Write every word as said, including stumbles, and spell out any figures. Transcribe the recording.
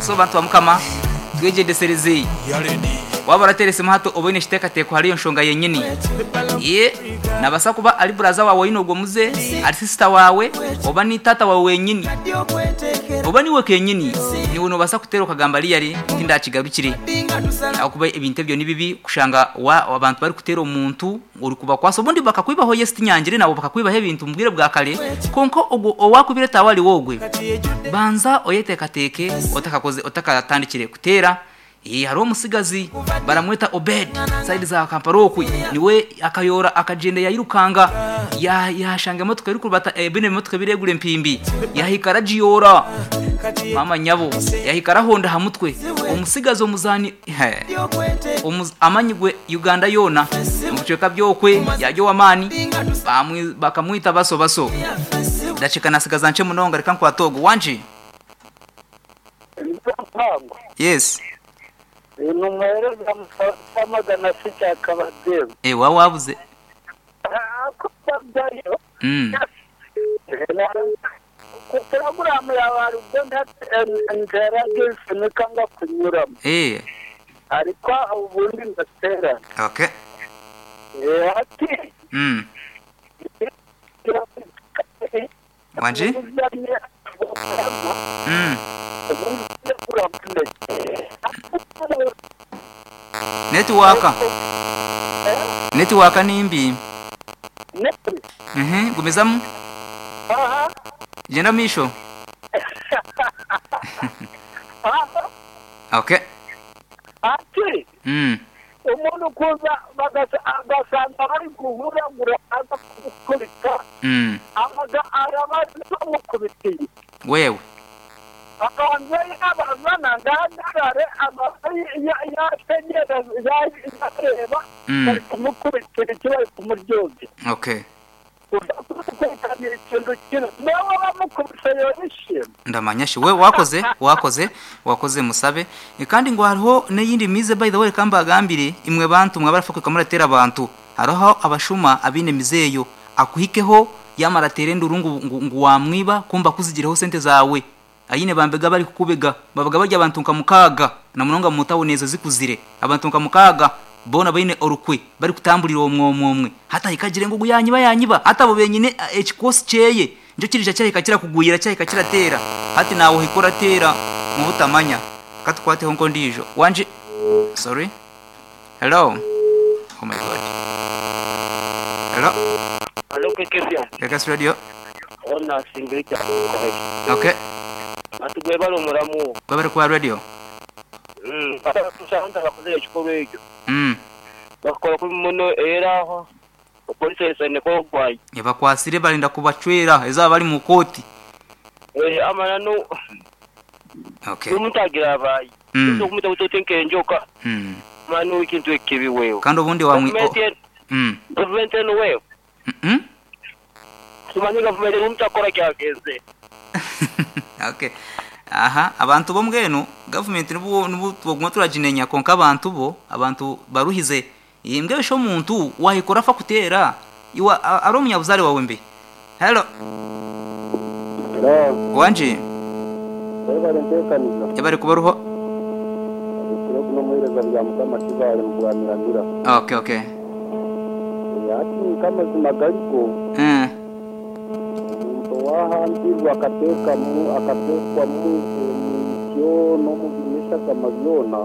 So bantu ba Mukama, twegyendesereze. Waba orateera hati oboine ekiteekateeko hariyo nshonga yenyini. Ye nabasa kuba ari buraza wawe oyine ogwo muze, ari sister wawe, oba ni tata wawe wenyini, oba niwe kenyini, niwe nobasa kuteera okagamba riyari tindakigarukire, ahakuba ebintu ebyo ni bibi kushanga wa abantu bari kuteera omuntu ori kubakwasa, obundi bakakwibaho. Yes, tinyangire nabo bakakwibaho ebintu mu bwire bwa kare, konka ogwo owakubire tawe ari wogwe. Banza oyeteekateeke otakakoze, otakatandikire kuteera. Eh, hariho omusigazi baramweta Obed, side za Kampala okwe, niwe akayora akagenda yayirukanga, ya- yashanga emotoka eri kurubata, eh, bino ebimotoka biregura empimbi, yahika aragiyora, mama nyabo, yahika arahonda ha mutwe omusigazi omuzani. He, omuz- amanyigwe Uganda yoona mu bicweka byokwe, yaryo w'amaani, bamwi- bakamwita Baso Baso. Ndakeka nasigaza nce munonga, reka nkwate ogu wangi. Mpango. Yes. Ni umuhereza magana se cyakabademu. Eh, waba wabuze. mm. Porogaramu yawe hari ubwo ntera nsinika ngo kunyuramo, eh ariko ubundi ndaterana. Okay. Ati mm. Wanji? Mm. Network. Network ni mbi. Mhm, gumizamu. Genda misho. Okay. Ati Mm. umuntu kuza bagasanga bari guhuragura, aza kumukubita, Mm. abaga arabaza bamukubitiye. Wewe. Abanza yabazana ngahagarare, abanza yategereza, yareba Mm. bari kumukubitira iki, bari kumuryoza. Okay. Uza kumukubitana ikintu kimwe nawe bamukubise yorishima. Ndamanya shi we wakoze, wakoze, wakoze musabe. E, kandi ngo hariho n'eyindi mize, by the way, kamba agambire imwe bantu mwabarafa kumuratera abantu. Hariho abashuma abine mizeyo, akuhikeho yamara tere nduru ngu, ngu, ngu wamwiba, kumba kuzigireho sente zawe. Ayine bambega bari kukubega, babaga barya abantu nka mukaga na munonga mutawoneza zikuzire abantu nka mukaga bona baine orukwe bari kutambulira omwomwe omwe, hata ikagire ngo guyanyiba yanyiba, hata abo benyine ekikosi kyeye njo kirija cyahika kirakugwira, cyahika kiratera, hati nawe hikora tera mu butamanya. Katukwateho nko ndijo wanje. Sorry, hello, oh my God, hello. Allo, K K F M. K K S Radio. Ona singirita correct. Okay. Atugwe bali omulamu. Babari kwa radio. Mm. Tusanga bakoze ekikolwa ekyo. mm Bakola ku muno, era polisi esaneko ogwayi. Ebakwasire balinda kubacwera ezaba bali mu kooti. Eh, amana no Okay. omuntu agira abayi. Mm. Okumita kutotenka enjoka. mm. Manu ekintu ekibi wewe. Kandi obundi wamwi oh. Gavumenti mm. Gavumenti eno wewe. Mm -mm. Tumanyi gavumenti omuntu akora kyageze. Okay, aha, abantu bo mbwenu gavumenti nibu nibu tuguma turaginenya, konka abantu bo abantu baruhize imbwe besho omuntu wahikora afa kutera iwa a- ari omunyabuzare wawe mbe. Hello. Wanje. Bari ntekaniza. Ebari kubaruho. Ikiro kuno muhereza bya Mukama kibale mu kuramiramira. okay okay Ati kamazima gariko, mm. omuntu wahambirwa akateekamu akateekwamu emicyo n'omubiri n'eshagama byona.